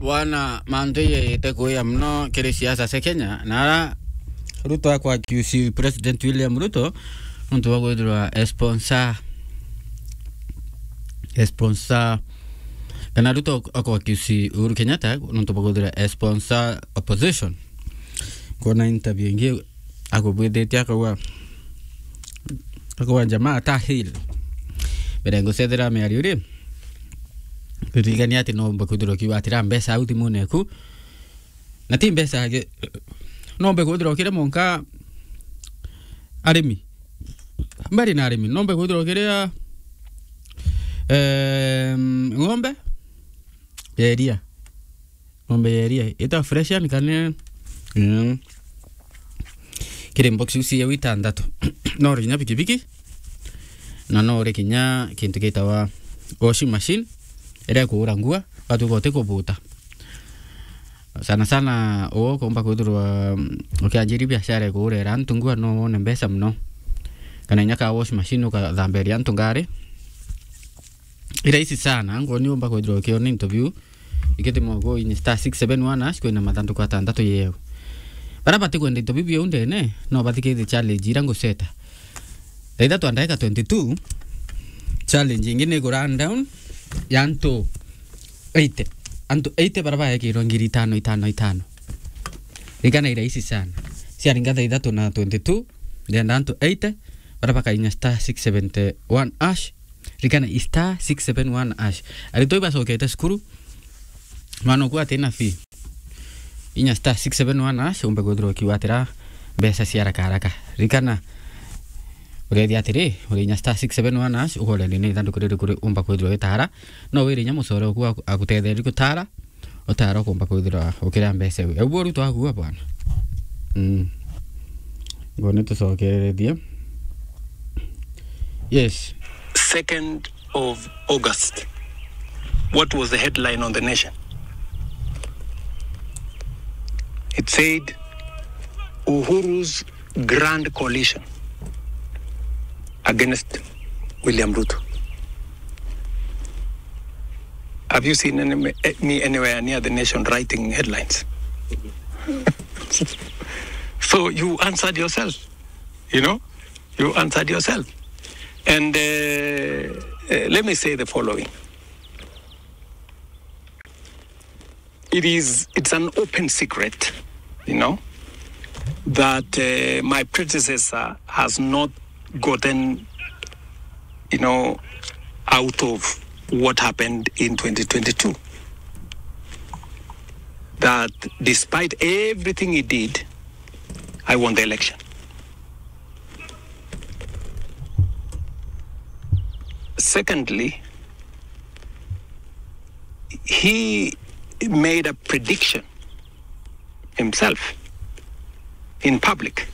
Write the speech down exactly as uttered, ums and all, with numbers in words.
Bwana, mantu ite kuya muno kiri siasa cia Kenya, na ara Ruto akwa accuse President William Ruto nontu bwa kwithirwa e sponsor, e sponsor, kana Ruto akwa accuse Uhuru Kenyatta nontu bwa kwithirwa e sponsor opposition. Kwona interview ingi akubwithitie akauga, akauga jamaa ta hell. Mbere ngucethera miario ri, ririkania ati no umbe kwithirwa ukiuga atira mbeca au thimune eku, na ti mbeca age, no umbe kwithirwa ukire monka arimi, mbari na arimi, no umbe kwithirwa ukiria, em, ng'ombe ya iria. Ng'ombe ya iria ita Fresian kana, mm, kiri mbox iu cia itantatu. No uri kinya pikipiki, na no uri kinya kintu gitawa washing machine, iria ikuura ngua, watuika uti kubuta. Sana sana, uu ukumba kwithirwa, mm, ukianjiria biashara ya kuurera antu ngua, no wone mbeca muno. Kana inya ka washing machine ukathamberia antu ngari. I rahisi sana, angu ni umba kwithirwa ukiona into biu. Ikiti mwago inye star six seven one hash, kwina mathanduku atantatu yeu. Bara bati kwenda into biu biu ndene, no bathikithie challenge ira nguceta. Thaa ithatu na ndagika twenty-two, challenge ingi ni ku run down ya antu eighty. Antu eighty bara baekirwe ngiri itano, itano, itano. Ririkana i rahisi sana. Ciaringa thaa ithatu na twenty-two, ndenda antu eighty, bara bakainya star six seventy one hash. Ririkana i star six seven one hash. Aritwa ibacokete cukuru, mwana uku atina fee. Inya star six seven one hash, umbe kwithirwa ukiwatira mbeca cia haraka haraka. Ririkana, urethia atiri, uri inya star six seven one hash, ukorethia ni ithanduku riri kuri umba kwithirwa witara. No wire inya mucore uku aku-, agutetherie gutara, utara ukumba kwithirwa ukiria mbeca iu. Ebu uru twakua bwana. Mm. Ngo ni tucokerethie. Yes. Second of August. What was the headline on The Nation? It said, "Uhuru's grand coalition against William Ruto." Have you seen any, me anywhere near The Nation writing headlines? So you answered yourself, you know? You answered yourself. And, uh, uh, let me say the following. It is, it's an open secret, you know, that, uh, my predecessor has not gotten, you know, out of what happened in twenty twenty-two. That despite everything he did, I won the election. Secondly, he made a prediction himself in public